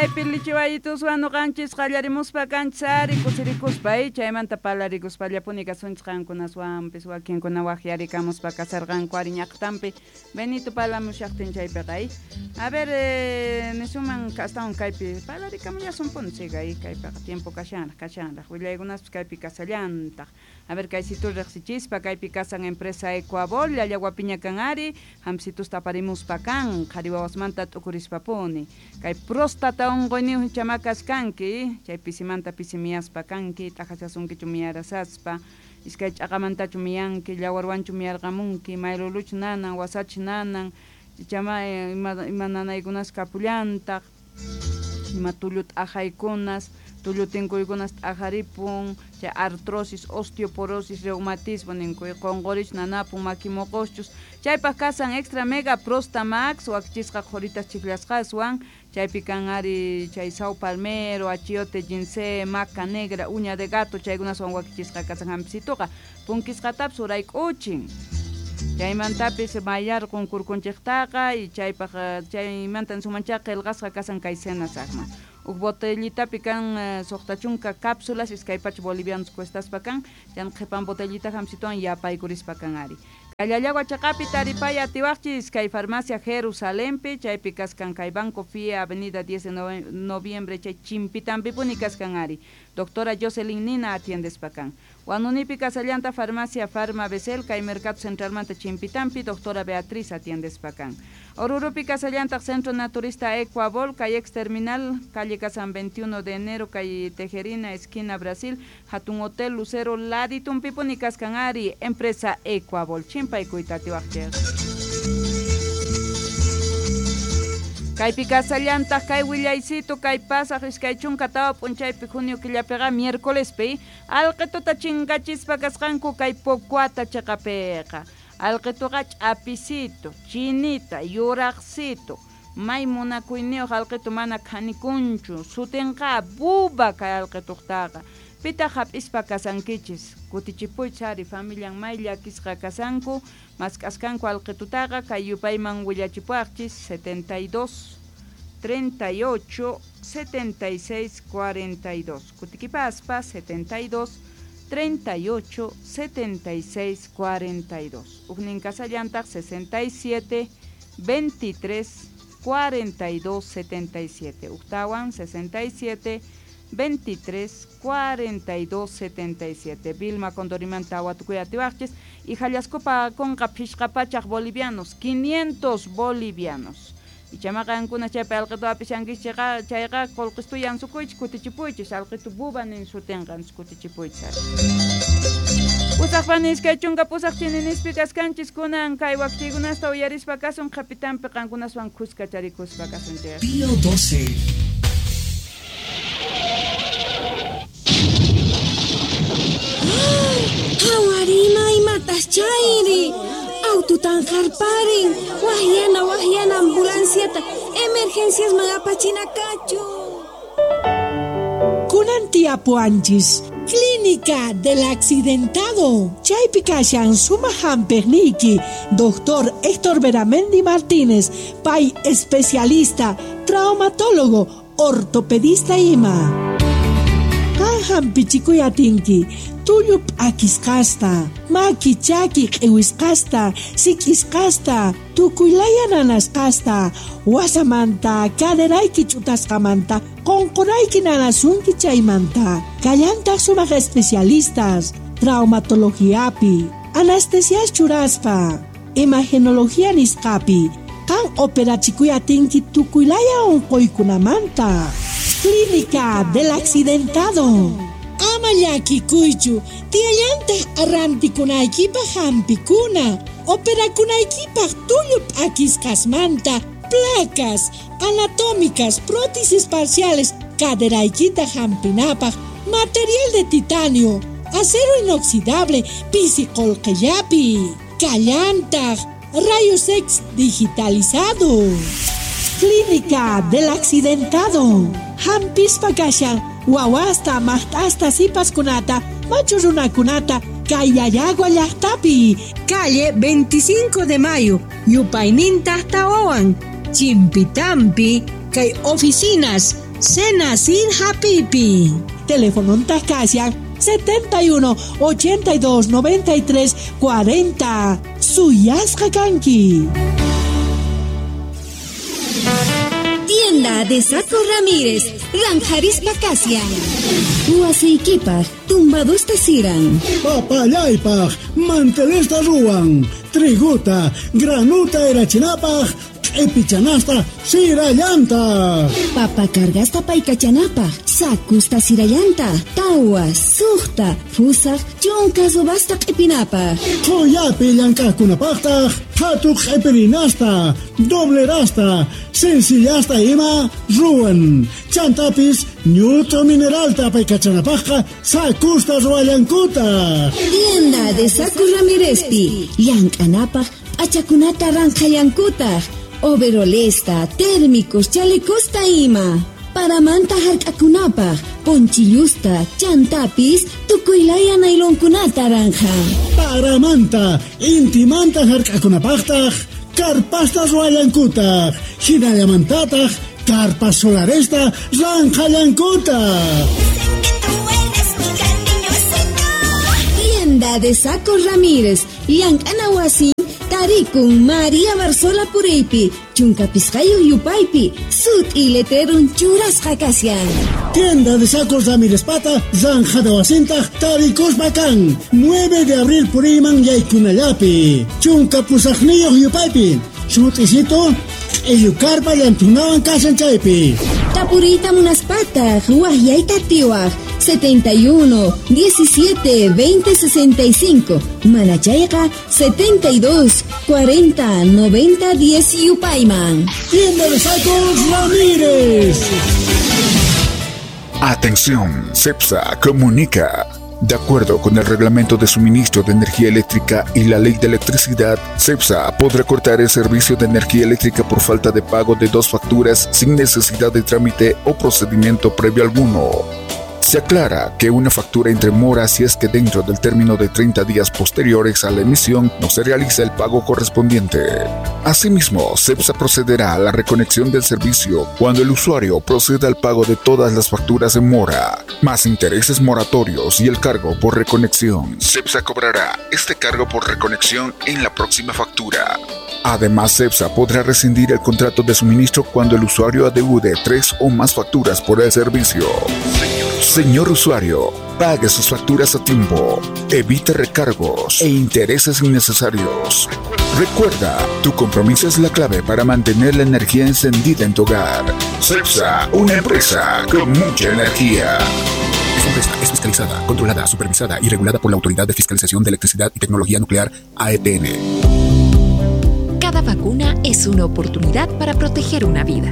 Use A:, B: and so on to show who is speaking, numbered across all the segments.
A: Chaypi lichiwayituswan nuqanchis qallarimuspa kanchis ari kusirikuspa chaymanta parlarikuspallapuni kasunchis qankunaswanpis wakinkuna waqyarikamuspa kasarqanku ari ñaqtanpi Benito parlamushaqtin chaypiqa. A ver, nisuman astawan kaypi parlarikamullasunpuni siga kaypiqa tiempo kashanraq kashanraq willaykunaspis kaypi kasallantaq. A ver, kaysitu riqsichispa kaypi kasan empresa Ecuabol llallawapiña kan ari hampisitus aparimuspa kan qhari wawasmanta t'ukurispapuni kay próstata unquyniyuq chamakas kanki chay pisimanta pisi miyaspa kanki t'aqachasunkichu miyarasaspa iskay ch'aqamantachu miyanki llawarwanchu miyarqamunki mayluluchu nanan wasachu nanan chama ima nanaykunas kapullantaq ima tullu t'aqaykunas tullu tinkuykunas t'aqaripun chay artrosis, osteoporosis, reumatismo ninku qunqurichu nanapun maki muquschus chaypaq kasan extra mega prostamax wakichisqa qhuritas chiklasqaswan chaypi kan ari chay sao palmero, achiote, ginseng, maca negra, uña de gato chaykunaswan wakichisqa kasan hampisituqa punkisqatapis urayk'uchin chaymantapis mayarqun kurkunchiktaqa y chaypaq chaymanta sumanchaqa qillqasqa kasan kay senasaqman huk botellitapi kan suqta chunka cápsulas iskay pacha bolivianos cuestaspa kan chan qhipan botellita hamsituwan yapaykurispa kan ari Kallallagua chaqapi taripay atiwaqchis kay farmacia Jerusalempi chaypi kaskan kay Banco FIE Avenida 10 de noviembre chay chimpitanpipuni kaskan ari doctora Jocelyn Nina atiendespa kan Wanunipi kasallanta farmacia Farma Besel kay Mercado Centralmanta chimpitanpi doctora Beatriz atiendespa kan Orurupi kasallantaq Centro Naturista Ecuabol kay ex terminal calle Casan 21 de enero kay Tejerina esquina Brasil hatun Hotel Lucero laditunpipuni kaskan ari empresa Ecuabol chimpaykuyta atiwaqchik. Kaypi kasallantaq kay willaycito kay pasaq 24 p'unchaypi junio killapiqa miércolespi alqituta chinkachispa kasqanku kay Pocuata chaqapiqa alqituqa ch'apisito, chinita, yuraqsito may munakuyniyuq alqitu mana khanikunchu sutinqa buba kay alqituqtaqa pitaq hap'ispa kasankichis kutichipuychis ari familian may llakisqa kasanku mask'askanku alqitutaqa kay yupayman willachipuwaqchis 72 38 76 42 kutikipaspa 72 38 76 42 huknin kasallantaq 67 23 42 77 uktawan 67 23 42 77 Vilma Condorimanta watukuy atiwaqchis y Jallascopa conqa phishqa pachaq bolivianos 500 bolivianos ichama qankuna chaypi alqitu apishankichis chayqa qullqistu yansukuychis kutichipuychis alqitu buba nin sutinqa kutichipuychis. Pusaqpani 28 chininispi kaskanchis kunan kay wakchiykunasta uyarispa kasun qhapitanpi qankunaswan kuska charikuspa kasunchik.
B: Pío 12.
C: Qhawarima imatas chayri aututan qarparin wahyana ambulanciata emergenciasman apachinakachu.
D: Kunan tiapuanchis Clínica del Accidentado. Chaypi kashan sumaq hampiqniyki Doctor Héctor Beramendi Martínez, pay especialista, traumatólogo, ortopedista ima. Qan hampichikuy atinki tullu p'akisqasta, maki chaki q'iwisqasta, sik'isqasta, tukuylaya nanasqasta, wasamanta, caderayki ch'utasqamanta, qunqurayki nanasunki chaymanta. Kallantaq sumaq especialistas, traumatologiapi, anestesias churaspa, imagenología nisqapi, qan operachikuy atinki tukuylaya unquykunamanta. Clínica del Accidentado. Ama llakikuychu, tiyallantaq arrantikunaykipaq hampikuna, operakunaykipaq tullu p'akisqasmanta, placas anatómicas, prótesis parciales, caderaykita hampinapaq, material de titanio, acero inoxidable, pisi qullqillapi, kallantaq, rayos X digitalizado. Clínica del Accidentado. Hampispa kashan wawasta, maqt'asta, sipaskunata, machu runakunata, kay Llallagua llaqtapi.
E: Calle 25 de Mayo, yupayninta tawawan, Chimpitampi, kay oficinas
D: Senacir Hapipi. Teléfono Tascasian 71 82 93 40. Suyasqa kanki.
C: Tienda de Saco Ramírez, Ranjarispa Kasian. Wasiykipaq, tumbadusta siran.
B: Papallaypaq, mantelesta ruwan. Triguta, granuta erachinapaq, q'ipichanasta sirallanta.
C: Papa cargasta paykachanapaq, sakusta sirallanta, tawa, suqta, fusaq, chunka subasta q'ipinapaq.
B: Qhuyapi llank'aqkunapaqtaq, phatu q'ipirinasta, doblerasta, sencillasta ima ruwan. Chantapis ñut'u mineralta paykachanapaqqa sakusta ruwallankutaq.
C: Tienda de Saco Ramírezpi, llank'anapaq p'achakunata ranqhallankutaq. Overolesta, térmicos, chalecosta ima. Paramanta hark'akunapaq, ponchillusta, chantapis, tukuylaya nailonkunata ranja.
B: Paramanta, intimanta hark'akunapaqtaq, karpasta ruwallankutaq, hinallamantataq, karpas solaresta ranqhallankutaq.
C: Tienda de Saco Ramírez, llank'ana wasi, tarikun María Barzola Pureypi, chunka pisqayuq yupaypi, sut'i letrerun churasqa kashan.
B: Tienda de Sacos Ramírez Pata, Zanjada wasintaq tarikuspa kan, 9 de abril puriyman yaykunallapi, chunka pusaqniyuq yupaypi, sut'isito, q'illukarpa llantunawan kashan chaypi.
C: Tapuriyta munaspataq, waqyayta tiwaq, 71 17 20 65, manachayqa 72 40 90 10 yupayman.
B: Tienda de Sacos Ramírez.
F: Atención, CEPSA comunica. De acuerdo con el Reglamento de Suministro de Energía Eléctrica y la Ley de Electricidad, CEPSA podrá cortar el servicio de energía eléctrica por falta de pago de 2 facturas sin necesidad de trámite o procedimiento previo alguno. Se aclara que una factura entre mora si es que dentro del término de 30 días posteriores a la emisión no se realiza el pago correspondiente. Asimismo, CEPSA procederá a la reconexión del servicio cuando el usuario proceda al pago de todas las facturas en mora, más intereses moratorios y el cargo por reconexión. CEPSA cobrará este cargo por reconexión en la próxima factura. Además, CEPSA podrá rescindir el contrato de suministro cuando el usuario adeude 3 o más facturas por el servicio. Señor usuario, pague sus facturas a tiempo, evite recargos e intereses innecesarios. Recuerda, tu compromiso es la clave para mantener la energía encendida en tu hogar. CEPSA, una empresa con mucha energía. Esta empresa es fiscalizada, controlada, supervisada y regulada por la Autoridad de Fiscalización de Electricidad y Tecnología Nuclear, AETN.
G: Cada vacuna es una oportunidad para proteger una vida.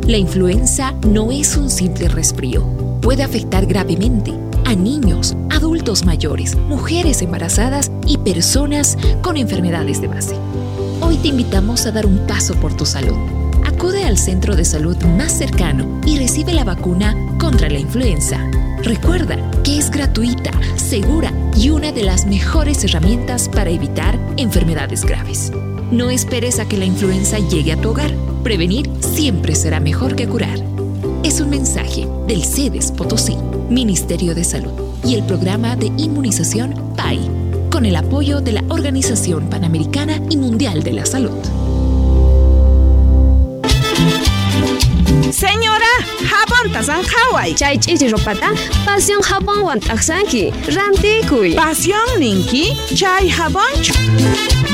G: La influenza no es un simple resfrío. Puede afectar gravemente a niños, adultos mayores, mujeres embarazadas y personas con enfermedades de base. Hoy te invitamos a dar un paso por tu salud. Acude al centro de salud más cercano y recibe la vacuna contra la influenza. Recuerda que es gratuita, segura y una de las mejores herramientas para evitar enfermedades graves. No esperes a que la influenza llegue a tu hogar. Prevenir siempre será mejor que curar. Es un mensaje del CEDES Potosí, Ministerio de Salud y el programa de inmunización PAI, con el apoyo de la Organización Panamericana y Mundial de la Salud.
H: Señora, jabón tasanjaway.
I: Chay ch'ichi ropata, pasión jabón t'aqsanki, rantikuy.
H: Pasión ninki, chay jabonchu.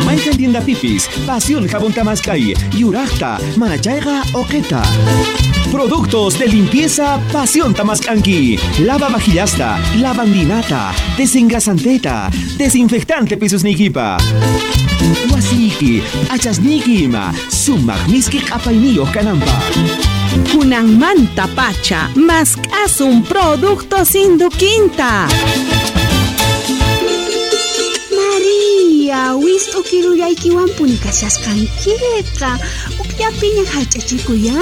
J: Mayqan tienda pipis, pasión jabón tamaskay, yuraqta, manachayqa oqeta. Productos de limpieza Pasión Tamascanqui. Lava vajillasta, lavandinata, desengrasanteta, desinfectante pisusnikipa. Wasiki, achasniki ima, sumaq miski q'apayniyuq kananpaq.
H: Kunanmanta pacha, mask'asun producto sinduquinta.
C: María, wist'u kirullaykiwanpuni kashasqankiqa.
E: Kaqllapiña harch'achikuya.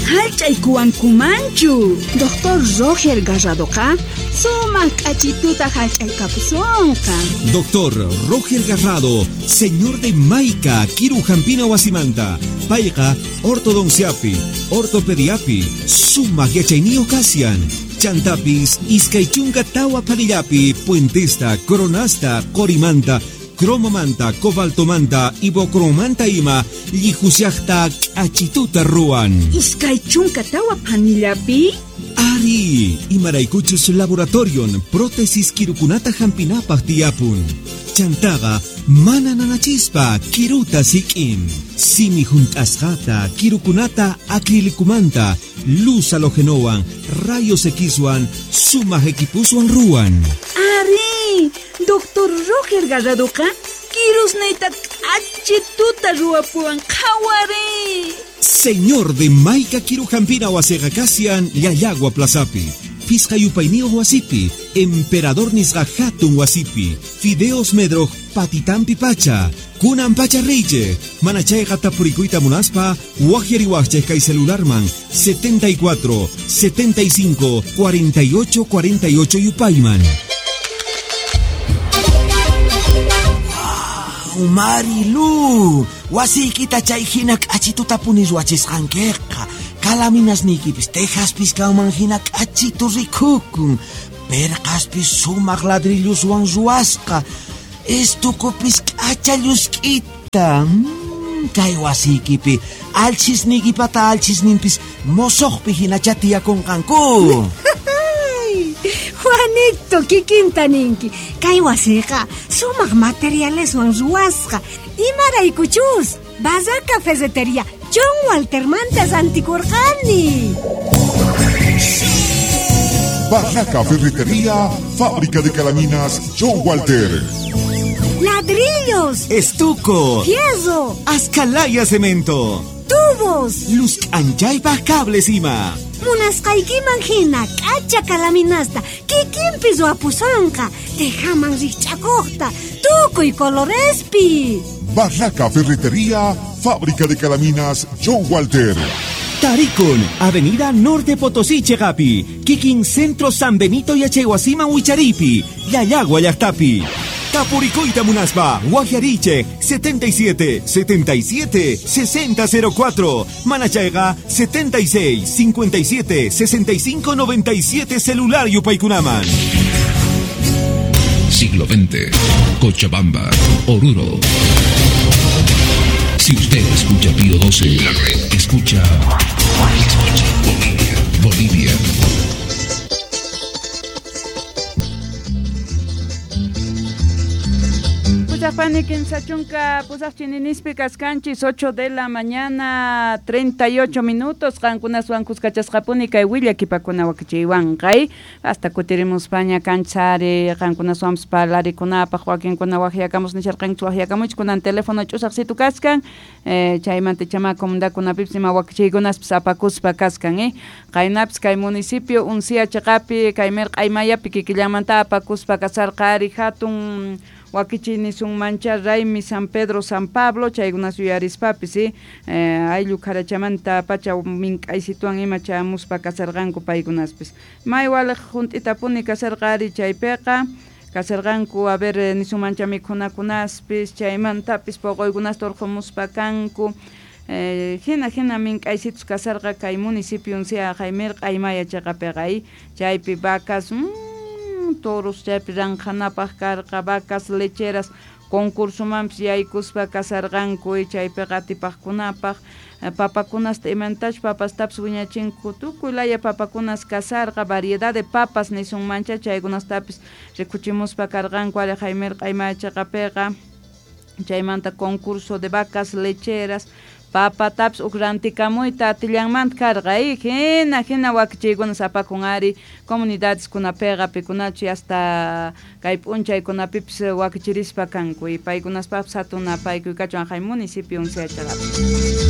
H: Harch'aykuwankumanchu.
E: Doctor Roger Garradoqa sumaq k'achituta harch'aykapusunqa.
J: Doctor Roger Garrado, señor de Maica, Kiru Hampina Wasimanta, Payqa, ortodonciapi, ortopediapi, sumaq yachayniyuq kasian. Chantapis, iskay chunka tawa phanillapi, puentesta, coronasta, qorimanta, cromomanta, cobaltomanta, ibocromanta ima, llihusiaqta k'achituta ruwan.
H: Iskay chunka tawa phanillapi?
J: Ari, imaraykuchus laboratorion, prótesis kirukunata hampinapaq tiyapun. Chantaqa, mana nanachispa, kiruta sik'in. Simi hunt'asqata, kirukunata acrilicumanta, luz halogenowan, rayos Xwan, sumaq equipuswan ruwan.
H: Ari, Doctor Roger Garradoqa, kirusniyta k'achituta ruwapuwan qhawari.
J: Señor de Maica Kiru Hampina wasiqa kasian Llallagua Plazapi. Pisqa yupayniyuq wasipi, Emperador nisqa hatun wasipi, Fideos Medroj patitampi pacha, kunan pacha riche, mana chayqa tapurikuyta munaspa, waqyariwaqchik kay celularman 74 75 48 48 yupayman.
K: Wow, Marilu, wasiykita chay hina k'achituta puni ruwachisqankiqa. Kalaminasniykipis tejaspis kanman hina k'achitu rikukun. Perqaspis sumaq ladrilluswan ruwasqa. Estukupis k'acha llusk'ita. Kay wasiykipi alchisniykipata alchisninpis mosoqpi hinacha tiyakunqanku.
E: Juanito, kikinta ninki. Kay wasiqa sumaq materialeswan ruwasqa. Imaraykuchus, Barraca Ferretería John Walter mantas antikurqani.
F: Barraca Ferretería, fábrica de calaminas John Walter.
E: Ladrillos,
J: estuco,
E: fierro,
J: ascalaya cemento,
E: tubos,
J: luz anchaypaq cables ima.
E: Munasqaykiman hina k'acha calaminasta kikinpi ruwapusunqa, tejaman rikch'akuqta, tukuy colorespi.
F: Barraca Ferretería, fábrica de calaminas John Walter.
J: Tarikun, Avenida Norte Potosí, Chegapi, Kikin Centro San Benito Yachaywasiman Wicharipi, Llallagua llaqtapi. Tapurikuyta munaspa, Guajariche, 77 77 60 04, Manachayqa, 76 57 65 97 celular yupaykunaman.
L: Siglo XX, Cochabamba, Oruro. Si usted escucha Pío 12, la red escucha Bolivia, Bolivia.
A: Pusaqpani kimsa chunka pusaq chininispi kaskanchis 8 de la mañana 38 minutos qankunaswan kuskachasqapuni kay willakipakuna wakichiywanqay hasta kutirimuspaña kanchari qankunaswanpas parlarikunapaq wakinkuna waqyakamus nisharqanchis waqyakamuchis kunan teléfono ch'usaq situ kaskan chaymanta chama comunidadkunapipis ima wakichiykunaspis apakuspa kaskan qaynapis kay municipio Uncia chiqapi kay mirq'aymayapi kikillanmanta apakuspa kasarqa ari hatun wakichiy nisunmancha Raymi San Pedro San Pablo chaykunas yuyarispapis ayllu kharachamanta pacha mink'aysituwan ima chamuspa kasarqanku paykunaspis may waliq hunt'itapuni kasarqa ari chaypiqa kasarqanku a ver nisunmancha mikhunakunaspis chaymantapis poqoykunasta urqumuspa kanku hina hina mink'aysitus kasarqa kay municipio Uncia kay mirq'aymaya chiqapiqa chaypi vacas toros chaypi ranqhanapaq karqa vacas lecheras concursomanpis yaykuspa kasarqanku chaypiqa atipaqkunapaq papakunasta imantach papastapis wiñachinku tukuy laya papakunas kasarqa variedad de papas nisunmancha chaykunastapis rikuchimuspa karqanku ari kay mirq'aymaya chiqapiqa chaymanta concurso de vacas lecheras papatapis uk rantikamuyta atillanmanta karqa hina hina wakichiykunas apakun ari comunidadeskunapiqa pikunachu hasta kay p'unchaykunapipis wakichirispa kanku y paykunaspapis hatun apaykuy kachun kay municipio Uncia chiqapi.